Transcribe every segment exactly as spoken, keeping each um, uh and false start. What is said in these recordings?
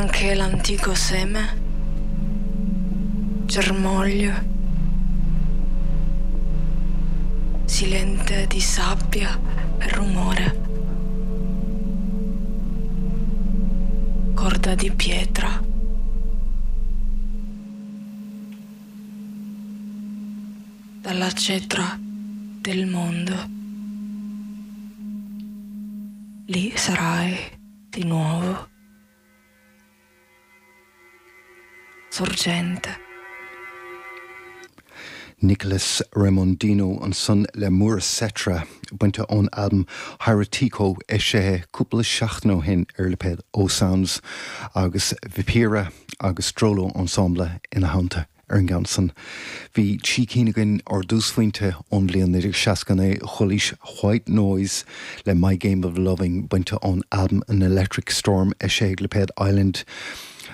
Anche l'antico seme, germoglio, silente di sabbia e rumore, corda di pietra. Dalla cetra del mondo. Lì sarai di nuovo. Sorgente. Nicolas Remondino ansan le Muracetra bainte ón albam Hieratico eisithe cúpla seachtain ó shin ar lipéad O Sounds agus Vipira agus Strolo Ensemble ina theannta ar an gceann san. Bhí trí cinn againn ar dtúsphointe ón bhliain naoi déag seasca naoi chualaís White Noise le My Game of Loving bainte ón albam An Electric Storm eisithe ag lipéad Island.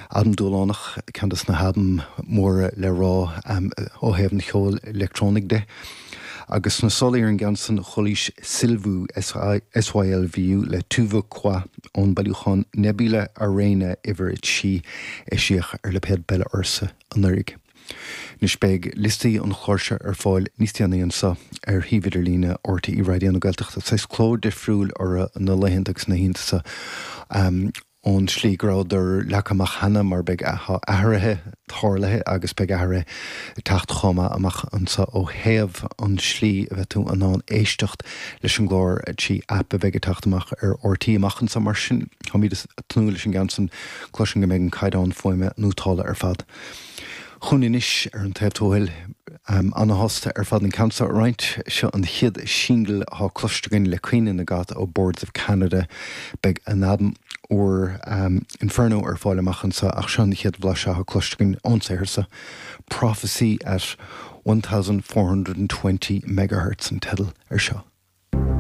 Albam dúshlánach, ceann de na halbaim móra le rá ó thaobh an cheoil leictreonaigh de. Agus sna solaí ar an gceann san chualaís Sylvu, S Y L V U, le Tu Veux Quoi ón bailiúchán Nebula Arena uimhir a trí eisíodh ar lipéad Bella Ursa anuraidh. Anois beidh liostaí an chláir seo ar fáil níos déanaí anseo ar shuíomh idirlíne R T E Raidió na Gaeltachta. Saghas cló difriúil orthu na laethanta agus na hoícheanta seo ón tslí go rabhadar leagtha amach cheana mar beidh athruithe tarlaithe agus beidh athruithe ag teacht chomh maith amach anseo ó thaobh an tslí a bheidh tú in ann éisteacht leis an gclár trí aip a bheidh ag teacht amach ar R T E amach anseo. Mar sin, táimid ag tnúth leis an gceann san, cloisim go mbeidh an caighdeán fuaime nótálta ar fad. Chugainn anois ar an taobh tuathail, ana-shásta ar fad an ceann seo a roinnt. Seo an chéad singil atá cloiste againn le Caoineadh na gCat ó Boards of Canada. Beidh a n-albam úr Inferno ar fáil amach anseo ach seo an chéad bhlaiseadh atá cloiste againn ón saothar seo. Prophecy at one thousand four hundred and twenty megahertz an teideal ar seo.